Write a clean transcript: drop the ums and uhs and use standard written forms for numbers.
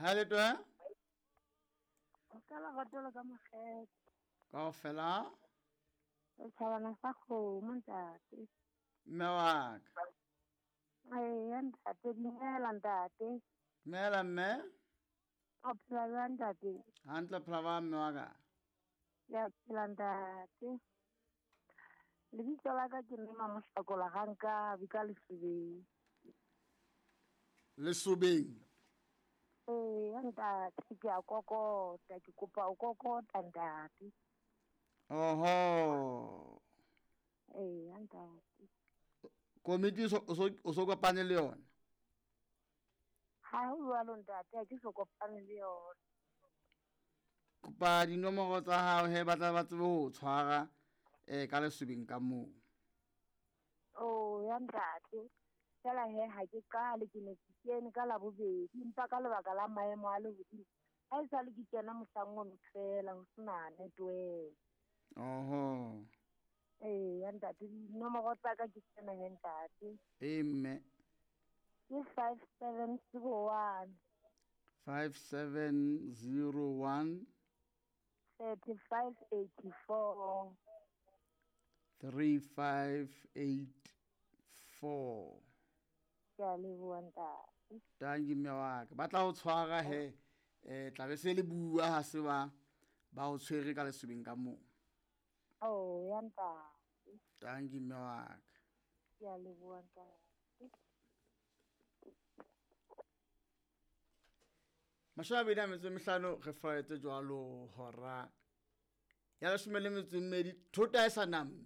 Ha le twe? O ka lerato le ka mokgetho. Kaofela. Setjhabana sa kgomo ntate. Mme wa ka. Eya ntate, dumela ntate. Dumela mme. O phela jwang ntate? Hantle phela ba mme wa ka. Ke a phela ntate. Lebitso la ka ke Mme Mamohlakola ga nkabe ka Lesobeng. Lesobeng? Ee ntate, ke a kokota, ke kopa o kokota ntate. Oho. Ee ntate. Komiti o so kopane le yona? Ha ho jwalo ntate, ha ke so kopane le yona. Kopa dinomoro tsa hao he ba tla ba tsebe ho tshwara ka lesobeng ka moo. Oh ya ntate. Fela he ha ke qale ke ne ke kene ka labobedi empa ka lebaka la maemo a lehodimo ha e sale ke kena mohlang ono fela ho sena network. Oho. Ee ya ntate, dinomoro tsa ka ke tsena he ntate. Ee mme. Ke 5701. 5701. 3584. 3584. Ke a leboha ntate. Tanki mme wa ka. Ba tla o tshwara he tla be se le bua ha se ba ba o tshwere ka lesobeng ka moo. Oh ya ntate. Tanki mme wa ka. Ke a leboha ntate. 25 re flaetse jwalo hora ya 12 thota e sa namme.